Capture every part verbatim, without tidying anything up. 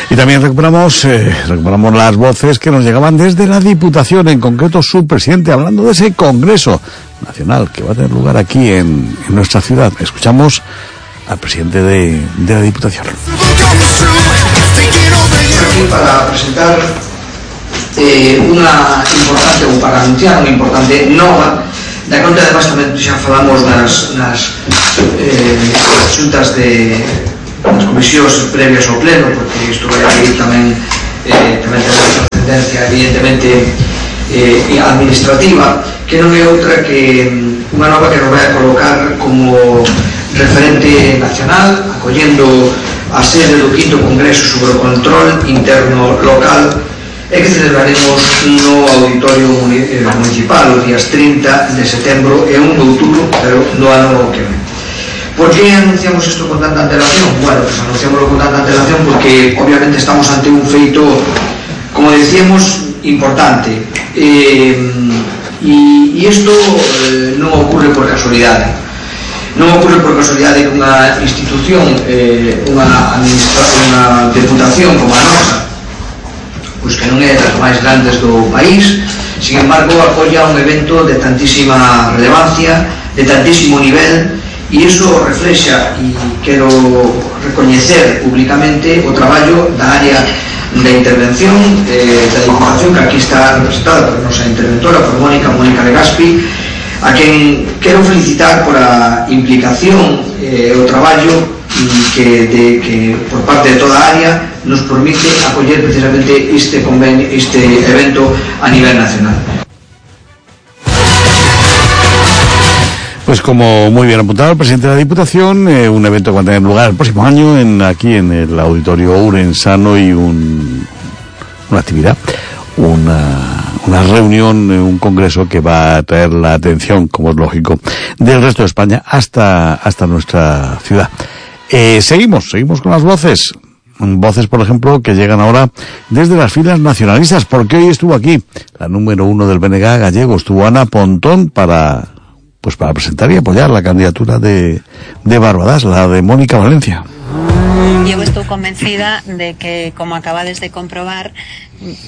Y también recuperamos, eh, recuperamos las voces que nos llegaban desde la Diputación, en concreto su presidente, hablando de ese Congreso Nacional que va a tener lugar aquí en, en nuestra ciudad. Escuchamos al presidente de, de la Diputación. Aquí para presentar eh, una importante, ou para anunciar unha importante nova, da conta además tamén xa falamos nas, nas eh, xuntas de nas comisións previas ao pleno, porque isto vai aí tamén eh, tamén ten unha trascendencia evidentemente eh, administrativa, que non é outra que unha nova que nos vai a colocar como referente nacional, acollendo a sede do quinto Congreso sobre o control interno local, e que celebraremos no Auditorio Municipal os días trinta de setembro e un de outubro, pero no ano que ven. Por que anunciamos isto con tanta antelación? Bueno, pues anunciámoslo con tanta antelación porque obviamente estamos ante un feito, como decíamos, importante, eh, e isto eh, non ocurre por casualidade. Non ocurre por casualidade que unha institución, eh, unha, unha deputación como a nosa, pois que non é das máis grandes do país, sin embargo acolla un evento de tantísima relevancia, de tantísimo nivel, e iso reflexa, e quero recoñecer públicamente o traballo da área da intervención eh, da Diputación, que aquí está representada por a nosa interventora, por Mónica, Mónica Legaspi, a quen quero felicitar por a implicación e eh, o traballo que, de, que por parte de toda a área nos permite acoller precisamente este convenio, este evento a nivel nacional. Pues como muy bien apuntado el presidente de la Diputación, eh, un evento que va a tener lugar el próximo año en, aquí en el Auditorio Ourensano, y un, una actividad, una, una reunión, un congreso que va a traer la atención, como es lógico, del resto de España hasta, hasta nuestra ciudad. Eh, seguimos, seguimos con las voces. Voces, por ejemplo, que llegan ahora desde las filas nacionalistas, porque hoy estuvo aquí la número uno del B N G gallego, estuvo Ana Pontón para, pues para presentar y apoyar la candidatura de, de Barbadas, la de Mónica Valencia. Eu estou convencida de que, como acabades de comprobar,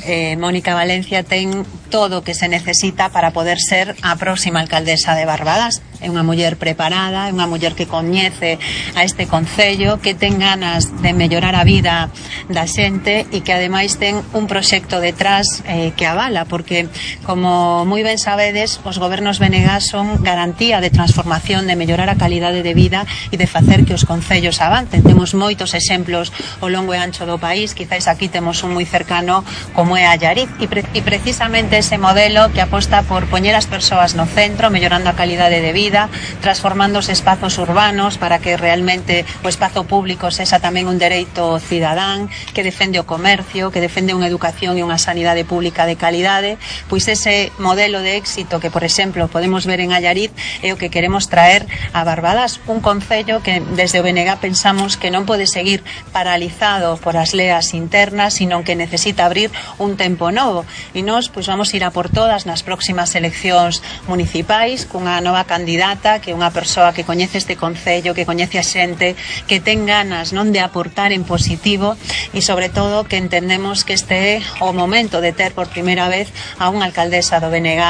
eh, Mónica Valencia ten todo o que se necesita para poder ser a próxima alcaldesa de Barbadas. É unha muller preparada, é unha muller que coñece a este concello, que ten ganas de mellorar a vida da xente e que ademais ten un proxecto detrás eh, que avala, porque, como moi ben sabedes, os gobernos B N G son garantía de transformación, de mellorar a calidade de vida e de facer que os concellos avancen. Temos moitos exemplos ao longo e ancho do país, quizáis aquí temos un moi cercano como é Allariz, e, pre e precisamente ese modelo que aposta por poñer as persoas no centro, mellorando a calidade de vida, transformando os espazos urbanos para que realmente o espazo público sexa tamén un dereito cidadán, que defende o comercio, que defende unha educación e unha sanidade pública de calidade. Pois ese modelo de éxito que, por exemplo, podemos ver en Allariz é o que queremos traer a Barbadas, un concello que desde o B N G pensamos que non pode seguir paralizado por as leas internas, sino que necesita abrir un tempo novo, e nós pois vamos ir a por todas nas próximas eleccións municipais cunha nova candidata, que é unha persoa que coñece este concello, que coñece a xente, que ten ganas non de aportar en positivo, e sobre todo que entendemos que este é o momento de ter por primeira vez a unha alcaldesa do B N G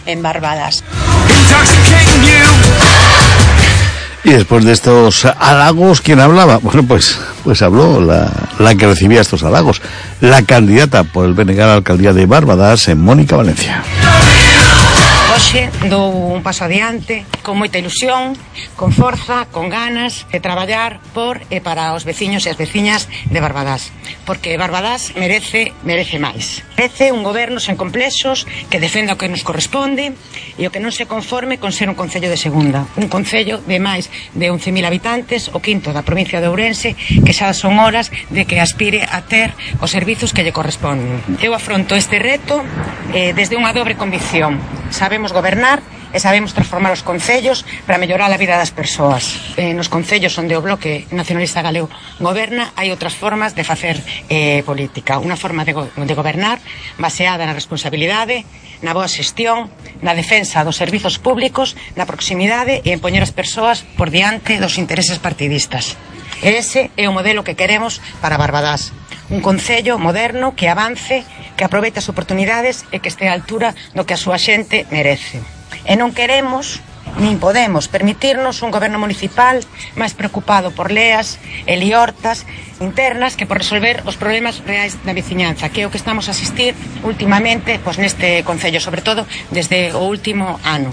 en Barbadas. Y después de estos halagos, ¿quién hablaba? Bueno, pues pues habló la, la que recibía estos halagos, la candidata por el B N G a la alcaldía de Barbadas, en Mónica Valencia. Hoxe dou un paso adiante, con moita ilusión, con forza, con ganas de traballar por e para os veciños e as veciñas de Barbadas, porque Barbadas merece, merece máis. Merece un goberno sen complexos, que defenda o que nos corresponde e o que non se conforme con ser un concello de segunda, un concello de máis de once mil habitantes, o quinto da provincia de Ourense, que xa son horas de que aspire a ter os servizos que lle corresponden. Eu afronto este reto eh, desde unha dobre convicción. Sabemos gobernar e sabemos transformar os concellos para mellorar a vida das persoas. Eh, nos concellos onde o Bloque Nacionalista Galego goberna, hai outras formas de facer eh, política. Unha forma de, go de gobernar baseada na responsabilidade, na boa xestión, na defensa dos servizos públicos, na proximidade e en poñer as persoas por diante dos intereses partidistas. E ese é o modelo que queremos para Barbadás. Un concello moderno que avance, que aproveite as oportunidades e que este á altura do que a súa xente merece. E non queremos nin podemos permitirnos un goberno municipal máis preocupado por leas e liortas internas que por resolver os problemas reais da veciñanza, que é o que estamos a asistir últimamente pois neste concello, sobre todo desde o último ano.